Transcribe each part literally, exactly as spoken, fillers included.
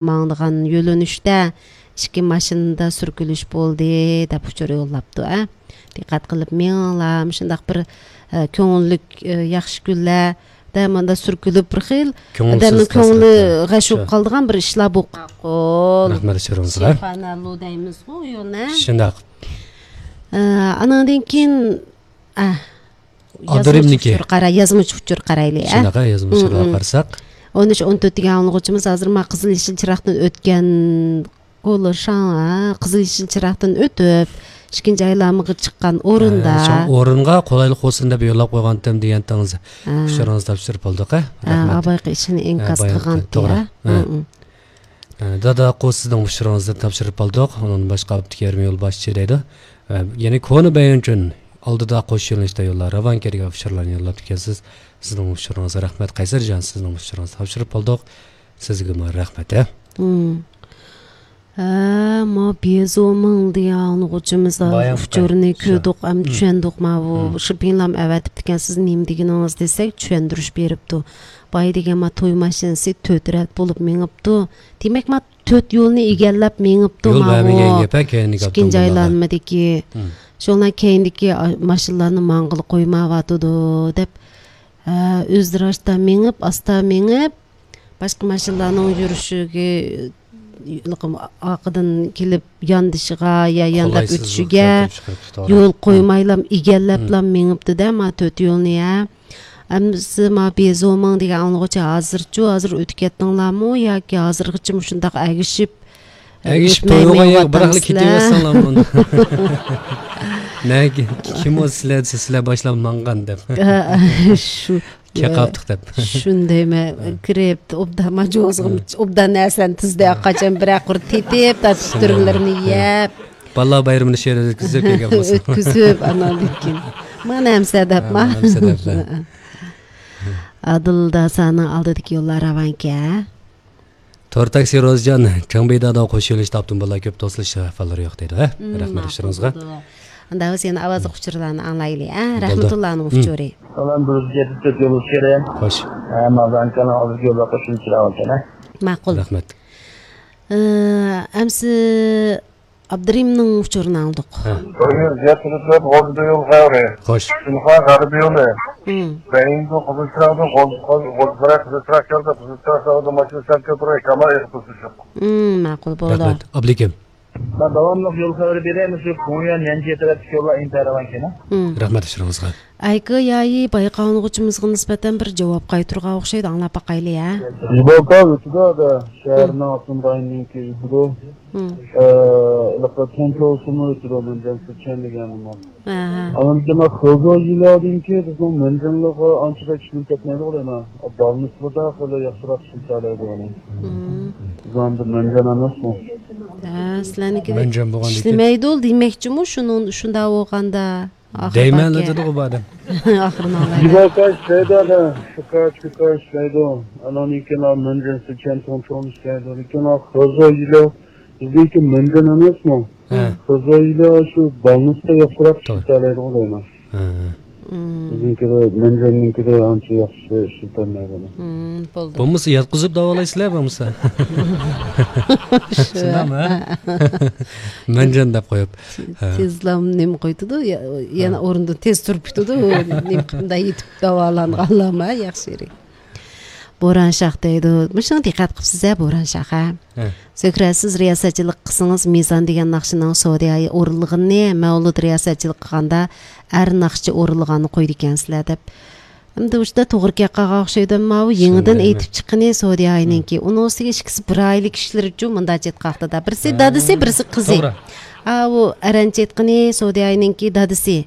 ماڭىدىغان يۆنىلىشتە ئىككى ماشىنىدا سۈركىلىش بولدى، دەپ ئۇچۇر يوللاپتۇ، ئە. دىققەت قىلىپ مېڭىڭلار، مۇشۇنداق بىر، ئە، كۆڭۈللۈك، ئە، ياخشى كۈنلەردە مۇنداق سۈركىلىپ بىر خىل كۆڭۈلسىز ئادەمنىڭ كۆڭلى خاسلىقلار. غەش بولۇپ شۇ. قالىدىغان بىر ئىشلار بولۇپ قالغۇل. رەھمەت ئۇچۇرىڭىزغا. شىفانەللۇ دەيمىزغۇ، يولنى. شۇنداق. ئە، ئانىڭدىن كېيىن، ئە، ئابدۇرېھىمنىڭكى. يازمىچە ئۇچۇر قارا-، يازمىچە ئۇچۇر قارايلى، ئە؟ شۇنداق، ئە، يازمىچە ئۇچۇرغا قارىساق. ئون ئۈچ، ئون تۆت دېگەن ئاڭلىغۇچىمىز ھازىر ما قىزىل يېشىل چىراغدىن ئۆتكەن، كولشاڭ، ھە، قىزىل يېشىل چىراغدىن ئۆتۈپ، ئىككىنچى ئايلانمىغا چىققان ئورۇندا. ھە، شۇ ئورۇنغا قولايلىق بولسۇن دەپ يوللاپ قويغانتىم دېگەنتىڭىز. ھە. ئۇچۇرىڭىزنى تاپشۇرۇپ بولدۇق، ھە؟ ھە، رەھمەت. ئابايقى ئىشىنى ھە، ئىنكاس بايام قىلغانتى، توغرا. ھە؟ ھە. ھە. ئە، دادا ئاققۇ سىزنىڭ ئۇچۇرىڭىزنى تاپشۇرۇپ قالدۇق. ئۇنىڭدىن باشقا ئابدۇكېرىم يولباشچى دەيدۇ. ئە، يەنى كونا بايانچۇن ئالدىدا قوش يۆنىلىشتە يوللار راۋان كەلگەن ئۇچۇرلارنى يوللاپتىكەنسىز. سىزنىڭ ئۇچۇرىڭىزغا رەھمەت. قەيسەرجان، سىزنىڭ ئۇچۇرىڭىزنى تاپشۇرۇپ قالدۇق. سىزگىمۇ رەھمەت، ھە؟ ھە، ما بيېزومىڭ دېگەن ئاڭلىغۇچىمىز بايام ئۇچۇرنى قاي-، كۆردۇق ھەم چۈشەندۇق. ماۋۇ شىپىڭلام ئەۋەتىپتىكەن، سىز نېمە دېگىنىڭىز دېسەك، چۈشەندۈرۈش بېرىپتۇ. باي دېگەن ما توي ماشىنىسى تۆت رەت بولۇپ مېڭىپتۇ. دېمەك، ما تۆت يولنى ئىگىلەپ مېڭىپتۇ، يول ماۋۇ بەرمىگەن گەپ، ھە، كەينىدىكى ئىككىنچى ئاپتوموبىللارغا. ئايلاندىمىدىكى. شۇنىڭ كەينىدىكى، ئا، ماشىنىلارنى ماڭغىلى قويمايۋاتىدۇ، دەپ، ھە، ئۆزلىرى ئاستا مېڭىپ، ئاستا مېڭىپ، باشقا ماشىنىلارنىڭ يۈرۈشىگە، ئارقىدىن كېلىپ ياندىشىغا يا يانداپ قولايسىزلىق ئۆتۈشىگە كەلتۈرۈپ چىقىرىپتۇ، توغرا. يول قويمايلا، ئىگىلەپلا مېڭىپتۇ-دە، ما تۆت يولنى، ھە. ئەمدىسى ما بيېزومىڭ دېگەن ئاڭلىغۇچى ھازىرچۇ، ھازىر ئۆتۈپ كەتتىڭلارمۇ ياكى ھازىرغىچىمۇ شۇنداق ئەگىشىپ، ئەگىشىپ ئۆتمەي تويغا يەر بىراقلا مېڭىۋاتامسىلەر؟ كېتىۋەرسەڭلار مۇنداق. نەگە، كىم ئۇ سىلەر دېسە، سىلەر باشلاپ ماڭغان دەپ. شۇ. كەقاپتۇق دەپ. شۇندايمەن، كىرىپ، ئوبدان ماجۇزغا، ئوبدان نەرسىلەرنى تىزدى، قاچان بىرەر قۇر تېتىپ، تارتىپ تۈرمىلىرىنى يەپ. بالىلار بايرىمىنى شۇ يەردە ئۆتكۈزۈپ كەلگەن بولسا. ئۆتكۈزۈپ، ئاناندىن كېيىن. مانا ھەمسە دەپ، ھە، ما. ھەمسە دەپلا. ئادىل داسانىڭ ئالدىدىكى يوللار راۋانكەن. تور تاكسى روزىجان، چاڭبىدادا قوش يۆنىلىشتە ئاپتوموبىللار كۆپ، توسۇلۇش ئەھۋاللىرى يوق دەيدۇ، ھە؟ رەھمەت ئۇچۇرىڭىزغا. ئۇندا بىز يەنە ئاۋازلىق ئۇچۇرلارنى ئاڭلايلى، ھە؟ بولدى. رەھمەتۇللانىڭ ئۇچۇرى. سالام، بىر يۈز يەتمىش تۆت يولدىشى كېرەم. خوش. ھە، مازان كانال ئالدىدىكى يوللار قوشۇلۇپ چىراغ ئىكەن، ھە؟ ماقۇل. رەھمەت. ئە، ئەمسە ئابدۇرېھىمنىڭ ئۇچۇرىنى ئاڭلىدۇق. ھە. بىر يۈز يەتمىش تۆت غوزىدا يول خەۋىرى. خوش. شىنخۇا غەربىي يولى. بەيىڭدۇ قىزىل چىراغدىن غوز-، غوز-، غوزىساراي قىزىل چىراغ كەلدى. قىزىل چىراغ ساغدا ماشىنا سەل كۆپرەك، شامال ئېغىپ تۇرسۇن. مم، ماقۇل، بولدى. رەھمەت. ئابلىكىم. مەن داۋاملىق يول خەۋىرى بېرەي، مۇشۇ كۇڭيۈەن يەنجى تەرەپتىكى يوللار ئىنتايىن راۋان ئىكەن، ھە؟ مم. رەھمەت ئۇچۇرىڭىزغا. ئەيكې يايى بايقا ئاڭلىغۇچىمىزغا نىسبەتەن بىر جاۋاب قايتۇرغان ئوخشايدۇ، ئاڭلاپ باقايلى، ھە؟ يۈبوكا ئۆتىدۇ، شەھەرنىڭ ئاپتونوم رايونىنىڭكى ئۆتىدۇ. مم. ئە، ھېلىقى تۇڭچوسىمۇ ئۆتىدۇ، مەنجەنسىچيەن دېگەنمۇ. ئاھا. ئاندىن كېيىن خېزو يىلادىنكى بىزنىڭ مەنجەنلىغا ئانچە بەك ئىشلىتىپ كەتمەيدۇ غۇ دەيمەن. بالنىسلىدا خېلى ياخشىراق ئىشلىتەلەيدۇ ئۇنى. مم. بىزنىڭ بىر مەنجەن ئەمەسمۇ؟ ھە، سىلەرنىڭكىدەك مەنجەن بولغاندىكىن. ئىشلىمەيدۇ دېمەكچىمۇ، شۇنىڭ، شۇنداق بولغاندا. دەيمەنلا دېدىغۇ بۇ ئادەم. ئاخىرىنى ئالايلى. يىۋاكا ئىشلەيدۇ، ئادا. شۇكا، چۇكا ئىشلەيدۇ. ئانان كېيىن مەنجەنسىچيەن تۇڭچوڭ ئىشلەيدۇ. لېكىن خېزو يىلو بىزنىڭكى مەنجەن ئەمەسمۇ؟ ھە. خېزو يىلو شۇ بالنىستا ياخشىراق توغرا. ئىشلىتەلەيدىغۇ دەيمەن. ھە، ھە. مم. بىزنىڭكىدە، مەنجەننىڭكىدە ئانچە ياخشى ئىشلىتەلمەيدۇ. مم، بولدى. بولمىسا ياتقۇزۇپ داۋالايسىلەر بولمىسا. شۇنداقمۇ، ھە؟ مەنجەن دەپ قويۇپ. ھە. تېزلا نېمە قويۇپتۇ، يا-، يەنە ھە. ئورنىدىن تېز تۇرۇپ كېتىدۇ. نېمە قىلىپ مۇنداق يېتىپ داۋالانغانلارمۇ ياخشى يېرى. بوران شاخ دەيدۇ. مۇشۇڭا دىققەت قىپسىز ھە، بوران شاخ ھە. ھە. زۆھرە، سىز رىياسەتچىلىك قىلسىڭىز، مىزان دېگەن ناخشىنىڭ سودىيايى ئورۇنلىغىنىنى، مەۋلۇت رىياسەتچىلىك قىلغاندا ئەر ناخشىچى ئورۇنلىغاننى قويىدىكەنسىلەر دەپ. ئەمدى ئۇشتا توغرا گەپ قالغان ئوخشايدۇ، ماۋۇ يېڭىدىن شۇنداق ئېيتىپ چىققىنى سودىياينىڭكى. ئۇنىڭ ئۈستىگە ئىككىسى بىر ئائىلىلىك كىشىلىرىچۇ مۇنداق چېتقاقتا. بىرسى ھە. دادىسى، بىرسى قىزى. توغرا. ئاۋۇ ئەرەنچە ئېيتقىنى سودىياينىڭكى دادىسى.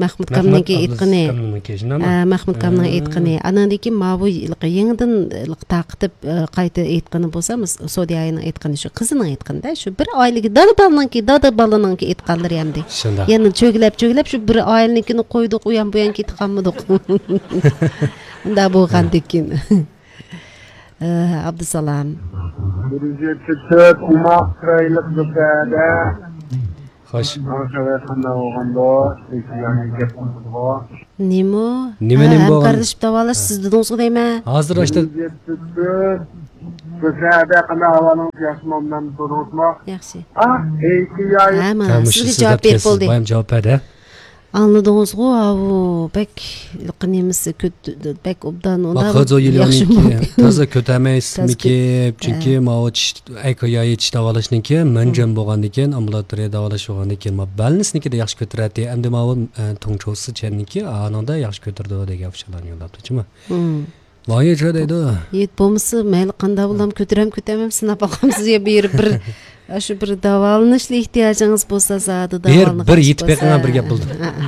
مەخمۇت كامنىڭكى ئېيتقىنى. ئە، مەخمۇت كامنىڭ ھە. ئېيتقىنى. ئانىڭدىن كېيىن ماۋۇ يېڭىدىن تارقىتىپ، ئە، قايتا ئېيتقىنى بولسا، سودىياينىڭ ئېيتقىنى شۇ، قىزىنىڭ ئېيتقىنىدە، شۇ بىر ئائىلىگە دادا بالىنىڭكى، دادا بالىنىڭكى ئېيتقانلىرى ئەمدى. شۇنداق. يەنە چۆگىلەپ، چۆگىلەپ شۇ بىر ئائىلىنىڭكىنى قويدۇق، ئۇيان بۇيان كېتىپ قالمىدۇق. ئۇنداق بولغاندىن كېيىن. ئە، ئابدۇسالام. بىر يۈز يەتتە تۆت ئوماق چىرايلىق دۇكەدە. خوش. ماڭا خەۋەر قانداق بولغاندۇ؟ يەنە گەپ قىلدىغۇ. نېمە؟ نېمە، ھە، نېمە بولغان؟ ھەمكارلىشىپ داۋالاش ھە. سىز دېدىڭىزغۇ دەيمەن. ھازىر ئاشتا. بىر يۈز يەتتە تۆت. سىلەردە قانداق ئەھۋالىڭىز، ياخشىمۇ، مەن تۇردۇڭىزمۇ؟ ياخشى. ئا، ئېيتىياي. ھە، مانا، ھە، مۇشۇ سىزگە سىز جاۋاب دەپ بېرىپ كەلسىز، بولدى. بايام جاۋاب بەردى. ئاڭلىدىڭىزغۇ، ئاۋۇ، بەك نېمىسى، كۆت-، بەك ئوبدان، ئۇنداق ياخشى بولدى. تازا كۆتەرمەيسىزمىكى؟ تازا كۆت-، چۈنكى ھە. ماۋۇ چىش، ئەيكا يايى چىش داۋالاشنىڭكى مەنجەم ھىم. بولغاندىكىن، ئامبۇلاتورىيە داۋالاش بولغاندىكىن، ما بەلنىسنىڭكىدە ياخشى كۆتۈرەتتى. ئەمدى ماۋۇ، ئە، تۇڭچوسى چەننىڭكى ئانىڭدا ياخشى كۆتۈرىدۇ دېگەن ئۇچۇرلارنى يوللاپتۇ، چىما؟ ھىم. ۋايىچە دەيدۇ. يېت بولمىسا، مەيلى قانداق بولام، كۆتۈرەم، كۆتەرمەم، سىناپ باقامسىز يا، بېرىپ بىر، ئاشۇ بىر داۋالىنىشلا ئېھتىياجىڭىز بولسا، زادى بىر، داۋالىنىش بىر يېتىپ بېقىڭا بىر گەپ بولدى. ھە، ھە.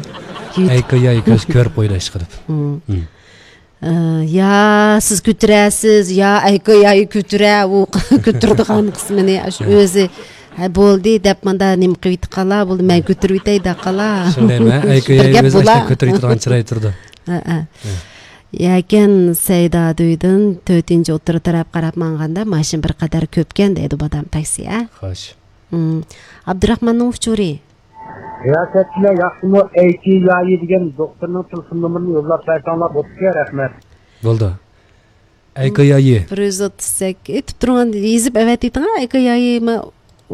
يېتىپ. ئەيكا يايى كۆز كۆرۈپ قويدى ئىشقىلىپ. ھىم. ھىم. ئە، يا سىز كۆتۈرەسىز، يا ئەيكا يايى كۆتۈرە، ئۇ كۆتۈرىدىغان قىسمىنى، ئاشۇ ھە. ئۆزى، ھە، بولدى دەپ ماندا نېمە قىلىۋېتىپ قالا، بولدى، مەن كۆتۈرۈۋېتەي دەپ قالا. شۇندايمۇ؟ ئەيكا بىر يايى گەپ ئۆزى بولا. ئاشۇنداق كۆتۈرۈۋېتىدىغان چىراي تۇرىدۇ. ھە، ھە. ھە. يەكەن سەيدا دۆيدىن تۆتىنچى ئوتتۇرا تەرەپ قاراپ ماڭغاندا، ماشىنا بىر قەدەر كۆپكەن دەيدۇ، بادام تاكسى، ھە؟ خوش. ھىم. ئابدۇراخماننىڭ ئۇچۇرى. رىياسەتچىلەر ياخشىمۇ؟ ئەيكى يايى دېگەن دوختۇرنىڭ تېلېفون نومۇرىنى يوللاپ بەرسەڭلار بوپتىكەن، رەھمەت. بولدى. ئەيكا يايى. بىر يۈز ئوتتۇز سەككىز. ئېيتىپ تۇرغان، يېزىپ ئەۋەتىۋېتىڭ، ھە، ئەيكا يايى. ما-،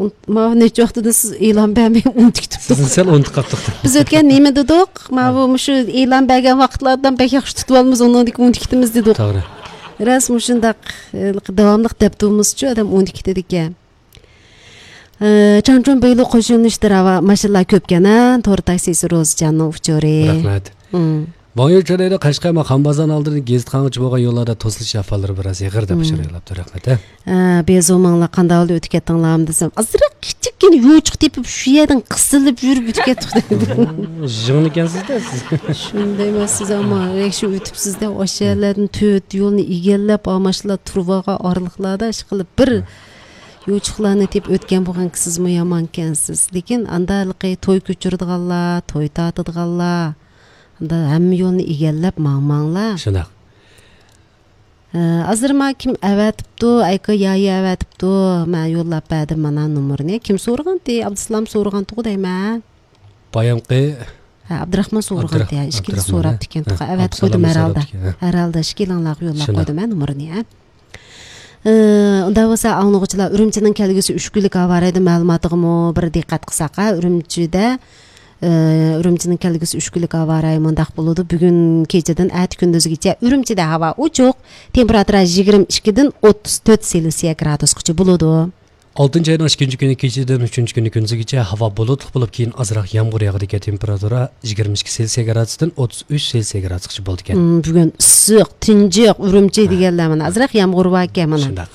ماۋۇ نەچچە ۋاقىتتىن سىز ئېلان بەرمەي ئۇنتۇپ كېتىپتۇ. سىزنى سەل ئۇنتۇپ قاپتۇق. بىز ئۆتكەن نېمە دېدۇق؟ ماۋۇ مۇشۇ ئېلان بەرگەن ۋاقىتلاردىن بەك ياخشى تۇتۇۋالىمىز، ئۇنىڭدىن كېيىن ئۇنتۇپ كېتىمىز دېدۇق. توغرا. راست مۇشۇنداق، ئە، داۋاملىق دەپ تۇرمىسىچۇ، ئادەم ئۇنتۇپ كېتىدىكەن. ئە، چاڭچۇن بېيلۇ قوشۇلۇشتۇر، ھاۋا، ماشىنىلار كۆپكەن، ھە؟ تور تاكسىسى روزىجاننىڭ ئۇچۇرى. رەھمەت. ھىم. ۋاڭيۈ چۆرەيدە قەشقەر خان بازارنىڭ ئالدىدىن گېزىت قاڭغۇچە بولغان يوللاردا توسۇلۇش ئەھۋاللىرى بىراز ئېغىر دەپ ئۇچۇر يوللاپتۇ. رەھمەت، ھە؟ ئە، بېزۇ ماڭلا قانداق ھالدا ئۆتۈپ كەتتىڭلارمۇ دېسەم، ئازراق كىچىككىنە يوچۇق تېپىپ، شۇ يەردىن قىسىلىپ يۈرۈپ ئۆتۈپ كەتتۇق دەيدۇ. يىغىنكەنسىز-دە سىز. شۇندايمۇ سىز ئەمما ياخشى ئۆتۈپسىز-دە، ئاشۇ يەرلەردىن تۆت يولنى ئىگىلەپ، ئاشۇلار تۇرۇۋالغان ئارىلىقلاردا ئىشقىلىپ بىر يوچۇقلارنى تېپىپ ئۆتكەن بولغانكى سىزمۇ يامانكەنسىز. لېكىن ئاندا ھېلىقى توي كۆچۈرىدىغانلار، توي تارتىدىغانلار، ئاندا ھەممە يولنى ئىگىلەپ ماڭماڭلار. شۇنداق. ھە، ھازىر ما كىم ئەۋەتىپتۇ، ئەيكا يايى ئەۋەتىپتۇ، مەن يوللاپ بەردىم مانا نومۇرنى. كىم سورىغانتى؟ ئابدۇسالام سورىغانتىغۇ دەيمەن. بايامقى ھە، ئابدۇراخمان سورىغانتى، ئابدۇراخ-، ھە، ئىككىنچى ئابدۇراخمان، سوراپتىكەن ھە. تۇغا، ھە، ئەۋەتقويدۇم ئابدۇسالام ھەرھالدا. سوراپتىكەن، ھە. ھەرھالدا ئىككىلىڭلارغا يوللاپ شۇنداق. قويدۇم، ھە، نومۇرنى، ھە. ئى، ئۇنداق بولسا، ئاڭلىغۇچىلار، ئۈرۈمچىنىڭ كەلگۈسى ئۈچ كۈنلۈك ھاۋا رايى مەلۇماتىغىمۇ بىر دىققەت قىلساق، ھە، ئۈرۈمچىدە، ئى، ئۈرۈمچىنىڭ كەلگۈسى ئۈچ كۈنلۈك ھاۋا رايى مۇنداق بولىدۇ. بۈگۈن كېچىدىن ئەتە كۈندۈزگىچە ئۈرۈمچىدە ھاۋا ئوچۇق، تېمپېراتۇرا يىگىرمە ئىككىدىن ئوتتۇز تۆت سېلسىيە گرادۇسقىچە بولىدۇ. ئالتىنچى ئاينىڭ ئىككىنچى كۈنى كېچىدىن ئۈچىنچى كۈنى كۈندۈزگىچە ھاۋا بۇلۇتلۇق بولۇپ، كېيىن ئازراق يامغۇر ياغىدىكەن. تېمپېراتۇرا يىگىرمە ئىككى سېلسىيە گرادۇستىن ئوتتۇز ئۈچ سېلسىيە گرادۇسقىچە بولىدىكەن. مم، بۈگۈن ئىسسىق، تىنچىق، ئۈرۈمچى ھە. دېگەنلەر مانا ئازراق يامغۇر باركەن مانا. شۇنداق.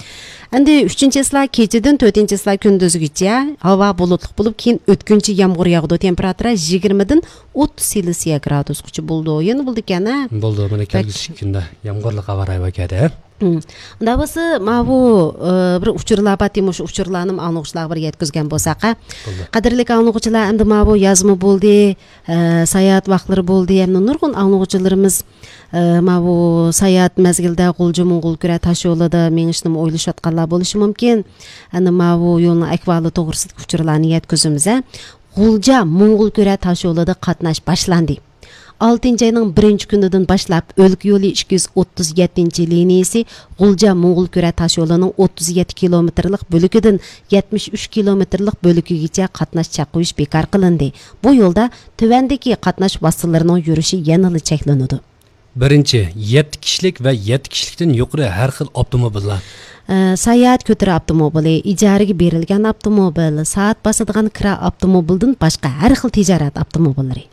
ئەمدى ئۈچىنچى چىسلا كېچىدىن تۆتىنچى چىسلا كۈندۈزگىچە ھاۋا بۇلۇتلۇق بولۇپ، كېيىن ئۆتكۈنچى يامغۇر ياغىدۇ. تېمپېراتۇرا يىگىرمىدىن ئوتتۇز سېلسىيە گرادۇسقىچە بولىدۇ. يەنە بولىدىكەن، ھە؟ بولىدۇ، مانا بەك كەلگۈسى كۈندە يامغۇرلۇق ھاۋا رايى بار كەدە. مم. ئۇنداق بولسا، ماۋۇ، ئە، بىر ئۇچۇرلار بار، مۇشۇ ئۇچۇرلارنى ئاڭلىغۇچىلارغا بىر يەتكۈزگەن بولساق، ھە؟ بولدى. قەدىرلىك ئاڭلىغۇچىلار، ئەمدى ماۋۇ يازمۇ بولدى، ئە، ساياھەت ۋاقىتلىرى بولدى، ھەمدە نۇرغۇن ئاڭلىغۇچىلىرىمىز، ئە، ماۋۇ ساياھەت مەزگىلىدە غۇلجا موڭغۇلكۈرە تاشيولىدا مېڭىشنىمۇ ئويلىشىۋاتقانلار بولۇشى مۇمكىن. ئەنە ماۋۇ يولنىڭ ئەھۋالى توغرىسىدىكى ئۇچۇرلارنى يەتكۈزىمىز، ھە؟ غۇلجا موڭغۇلكۈرە تاشيولىدا قاتناش باشلاندى. ئالتىنچى ئاينىڭ بىرىنچى كۈنىدىن باشلاپ، ئۆلكە يولى ئىككى يۈز ئوتتۇز يەتتىنچى لىنىيىسى غۇلجا موڭغۇلكۈرە تاشيولىنىڭ ئوتتۇز يەتتە كىلومېتىرلىق بۆلىكىدىن يەتمىش ئۈچ كىلومېتىرلىق بۆلىكىگىچە قاتناش چەك قويۇش بىكار قىلىندى. بۇ يولدا تۆۋەندىكى قاتناش ۋاسىتىلىرىنىڭ يۈرۈشى يەنىلا چەكلىنىدۇ. بىرىنچى، يەتتە كىشىلىك ۋە يەتتە كىشىلىكتىن يۇقىرى ھەر خىل ئاپتوموبىللار. ئە، ساياھەت كۆتۈرە ئاپتوموبىلى، ئىجارىگە بېرىلگەن ئاپتوموبىل، سائەت باسىدىغان كىرا ئاپتوموبىلدىن باشقا ھەر خىل تىجارەت ئاپتوموبىللىرى.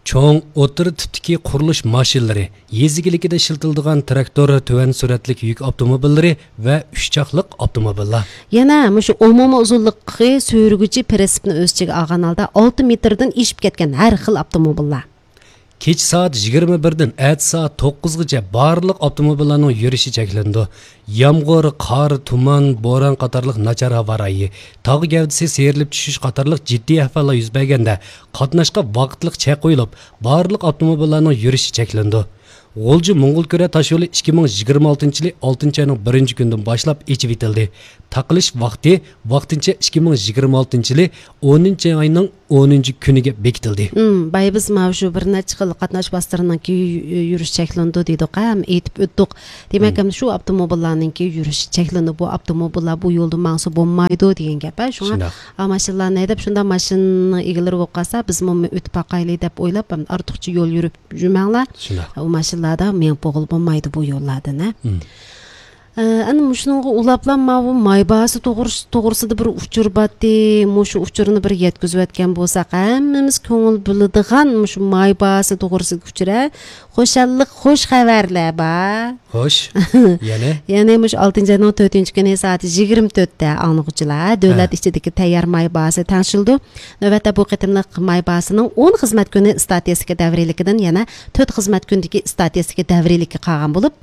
چوڭ، ئوتتۇرا تىپتىكى قۇرۇلۇش ماشىنىلىرى، يېزا ئىگىلىكىدە ئىشلىتىلىدىغان تىراكتور، تۆۋەن سۈرئەتلىك يۈك ئاپتوموبىللىرى ۋە ئۈچ چاقلىق ئاپتوموبىللار. يەنە مۇشۇ ئومۇمىي ئۇزۇنلۇقى سۈرگۈچى پىرىنسىپنى ئۆز ئىچىگە ئالغان ھالدا ئالتە مېتىردىن ئېشىپ كەتكەن ھەر خىل ئاپتوموبىللار. كېچە سائەت يىگىرمە بىردىن ئەتىسى سائەت توققۇزغىچە بارلىق ئاپتوموبىللارنىڭ يۈرۈشى چەكلىنىدۇ. يامغۇر، قار، تۇمان، بوران قاتارلىق ناچار ھاۋا رايى، تاغ گەۋدىسى سىيرىلىپ چۈشۈش قاتارلىق جىددىي ئەھۋاللار يۈز بەرگەندە، قاتناشقا ۋاقىتلىق چەك قويۇلۇپ، بارلىق ئاپتوموبىللارنىڭ يۈرۈشى چەكلىنىدۇ. غۇلجا موڭغۇلكۈرە تاشيولى ئىككى مىڭ يىگىرمە ئالتىنچى يىلى ئالتىنچى ئاينىڭ بىرىنچى كۈنىدىن باشلاپ ئېچىۋېتىلدى. تاقىلىش ۋاقتى ۋاقتىنچە ئىككى مىڭ يىگىرمە ئالتىنچى يىلى ئونىنچى ئاينىڭ ئونىنچى كۈنىگە بېكىتىلدى. ھىم، بايا بىز ماۋۇ شۇ بىر نەچچە خىل قاتناش ۋاسىتىلىرىنىڭكى يۈ-، يۈرۈش چەكلىنىدۇ دېدۇق، ھەم ئېيتىپ ئۆتتۇق. دېمەك، ھىم. ئەمدى شۇ ئاپتوموبىللارنىڭكى يۈرۈش چەكلىنىدۇ، بۇ ئاپتوموبىللار بۇ يولدا ماڭسا بولمايدۇ دېگەن گەپ، ھە. شۇڭا شۇنداق. ئا، ماشىنىلارنى ھەيدەپ، شۇنداق ماشىنىنىڭ ئىگىلىرى بولۇپ قالسا، بىزمۇ ئۆتۈپ باقايلى دەپ ئويلاپ، ئارتۇقچە يول يۈرۈپ يۈرمەڭلار. شۇنداق. ئۇ ماشىنىلاردا مېڭىپ بولغىلى بولمايدۇ بۇ يوللاردىن، ھە. ھىم. ئە، ئەنە مۇشۇنىڭغا ئۇلاپلا ماۋۇ ماي باھاسى توغرىس-، توغرىسىدا بىر ئۇچۇر بارتتى. مۇشۇ ئۇچۇرنى بىر يەتكۈزۈۋەتكەن بولساق، ھەممىمىز كۆڭۈل بۆلىدىغان مۇشۇ ماي باھاسى توغرىسىدىكى ئۇچۇر، ھە؟ خۇشاللىق، خۇش خەۋەرلەر بار. خوش. يەنە؟ يەنى مۇشۇ ئالتىنچى ئاينىڭ تۆتىنچى كۈنى سائەت يىگىرمە تۆتتە ئاڭلىغۇچىلار، دۆلەت ھە. ئىچىدىكى تەييار ماي باھاسى تەڭشىلىدۇ. نۆۋەتتە بۇ قېتىملىق ماي باھاسىنىڭ ئون خىزمەت كۈنى ئىستاتىستىكا دەۋرىيلىكىدىن يەنە تۆت خىزمەت كۈندىكى ئىستاتىستىكا دەۋرىيلىككە قالغان بولۇپ،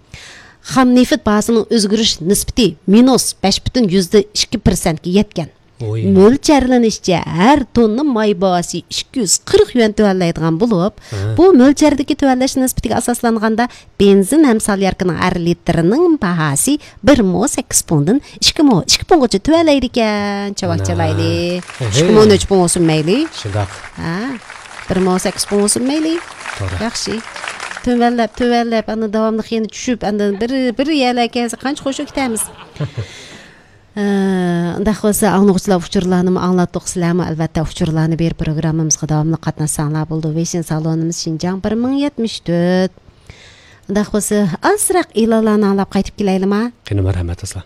خام نېفىت باھاسىنىڭ ئۆزگىرىش نىسبىتى مىنۇس بەش پۈتۈن يۈزدە ئىككى پىرسەنتكە يەتكەن. ئوي. مۆلچەرلىنىشىچە، ھەر توننا ماي باھاسى ئىككى يۈز قىرىق يۈەن تۆۋەنلەيدىغان بولۇپ، ھە. بۇ مۆلچەردىكى تۆۋەنلەش نىسبىتىگە ئاساسلانغاندا، بېنزىن ھەم سالياركىنىڭ ھەر لىتىرىنىڭ باھاسى بىر مو سەككىز پۇڭدىن ئىككى مو، ئىككى پۇڭغىچە تۆۋەنلەيدىكەن. چاۋاك ئانا. چالايلى. ئوھەي. ئىككى مو نەچچە پۇڭ بولسۇن مەيلى. شۇنداق. ھە. بىر مو سەككىز پۇڭ بولسۇن مەيلى. توغرا. ياخشى. تۆۋەنلەپ، تۆۋەنلەپ، ئاندىن داۋاملىق يەنە چۈشۈپ، ئاندىن بىر، بىر يەرلەرگە كەلسە قانچە خۇش بولۇپ كېتەرمىز. ئە، ئۇنداق بولسا، ئاڭلىغۇچىلار ئۇچۇرلارنىمۇ ئاڭلاتتۇق، سىلەرمۇ ئەلۋەتتە ئۇچۇرلارنى بېرىپ پروگراممىمىزغا داۋاملىق قاتناشساڭلار بولىدۇ. ۋېيشىن سالونىمىز شىنجاڭ بىر مىڭ يەتمىش تۆت. ئۇنداق بولسا، ئازراق ئېلانلارنى ئاڭلاپ قايتىپ كېلەيلىما؟ قېنى، مەرھەمەت، ئەسلا.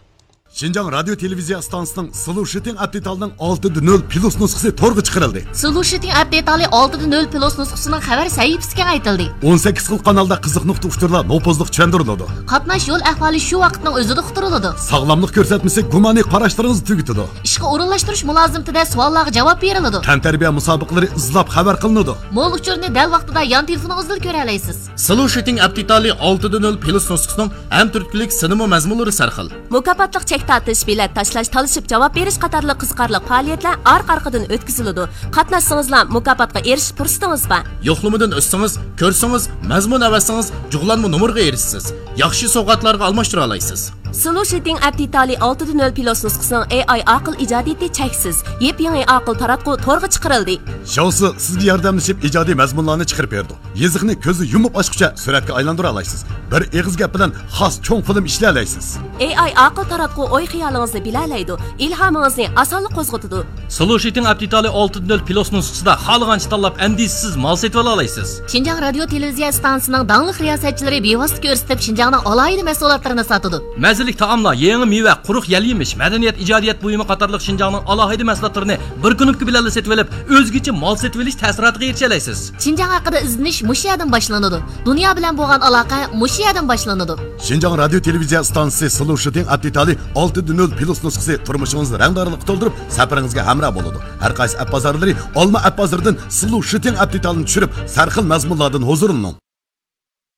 شىنجاڭ رادىيو تېلېۋىزىيە ئىستانسىسىنىڭ سلوشىتىڭ ئەپ دېتالىنىڭ ئالتە دە نۆل پلۇس نۇسخىسى تورغا چىقىرىلدى. سلوشىتىڭ ئەپ دېتالى ئالتە دە نۆل پلۇس نۇسخىسىنىڭ خەۋەر سەھىپىسى كېڭەيتىلدى. ئون سەككىز خىل قانالدا قىزىق نۇقتا ئۇچۇرلار نوپۇزلۇق چۈشەندۈرۈلىدۇ. قاتناش يول ئەھۋالى شۇ ۋاقىتنىڭ ئۆزىدە ئۇقتۇرۇلىدۇ. ساغلاملىق كۆرسەتمىسى گۇمانىي قاراشلىرىڭىزنى تۈگىتىدۇ. ئىشقا ئورۇنلاشتۇرۇش مۇلازىمىتىدە سوئاللارغا جاۋاب بېرىلىدۇ. تەنتەربىيە مۇسابىقىلىرى ئىزلاپ خەۋەر قىلىنىدۇ. مول ئۇچۇرنى دەل ۋاقتىدا يان تېلېفونىڭىزدىلا كۆرەلەيسىز. سلوشىتىڭ ئەپ دېتالى ئالتە دە نۆل پلۇس نۇسخىسىنىڭ ھەم تۈرتكىلىك سىنىمۇ مەزمۇنلىرى سەرخىل. مۇكاپاتلىق چەك تارتىش، بېلەت تاشلاش، تالىشىپ جاۋاب بېرىش قاتارلىق قىزىقارلىق پائالىيەتلەر ئارقا-ئارقىدىن ئۆتكۈزۈلىدۇ. قاتناشسىڭىزلا مۇكاپاتقا ئېرىشىش پۇرسىتىڭىز بار. يوقلىمىدىن ئۆتسىڭىز، كۆرسىڭىز، مەزمۇن ئەۋەتسىڭىز، جۇغلانما نومۇرغا ئېرىشىسىز. ياخشى سوۋغاتلارغا ئالماشتۇرا ئالايسىز. سلوشىتىڭ ئەپ دېتالى ئالتە دە نۆل پلۇس نۇسخىسىنىڭ ئېي ئاي ئاقىل ئىجادىيىتى چەكسىز. يېپيېڭى ئاقىل تاراتقۇ تورغا چىقىرىلدى. شاۋسى سىزگە ياردەملىشىپ ئىجادىي مەزمۇنلارنى چىقىرىپ بېرىدۇ. يېزىقنى كۆزنى يۇمۇپ ئاچقۇچە سۈرەتكە ئايلاندۇرالايسىز. بىر ئېغىز گەپ بىلەن خاس چوڭ فىلىم ئىشلىيەلەيسىز. ئېي ئاي ئاقىل تاراتقۇ ئوي-خىيالىڭىزنى بىلەلەيدۇ، ئىلھامىڭىزنى ئاسانلا قوزغىتىدۇ. سلوشىتىڭ ئەپ دېتالى ئالتە دە نۆل پلۇس نۇسخىسىدا خالىغانچە تاللاپ، ئەندىشىسىز مال سېتىۋالالايسىز. شىنجاڭ رادىيو تېلېۋىزىيە ئىستانسىسىنىڭ داڭلىق رىياسەتچىلىرى بىۋاسىتە كۆرسىتىپ، شىنجاڭنىڭ ئالاھىدە مەھسۇلاتلىرىنى ساتىدۇ. مەززىلىك تائاملار، يېڭى مېۋە، قۇرۇق يەل-يېمىش، مەدەنىيەت، ئىجادىيەت بۇيۇمى قاتارلىق شىنجاڭنىڭ ئالاھىدە مەھسۇلاتلىرىنى بىر كۇنۇپكا بىلەنلا سېتىۋېلىپ، ئۆزگىچە مال سېتىۋېلىش تەسىراتىغا ئېرىشەلەيسىز. شىنجاڭ ھەققىدە ئىزدىنىش مۇشۇ يەردىن باشلىنىدۇ. دۇنيا بىلەن بولغان ئالاقە مۇشۇ يەردىن باشلىنىدۇ. شىنجاڭ رادىيو تېلېۋىزىيە ئىستانسىسى سلوشىتىڭ ئەپ دېتالى ئالتە دە نۆل پلۇس نۇسخىسى تۇرمۇشىڭىزنى رەڭدارلىققا تولدۇرۇپ، سەپىرىڭىزگە ھەمراھ بولىدۇ. ھەر قايسى ئەپ بازارلىرى، ئالما ئەپ بازىرىدىن سلوشىتىڭ ئەپ دېتالىنى چۈشۈرۈپ، سەرخىل مەزمۇنلاردىن ھۇزۇرلىنىڭ.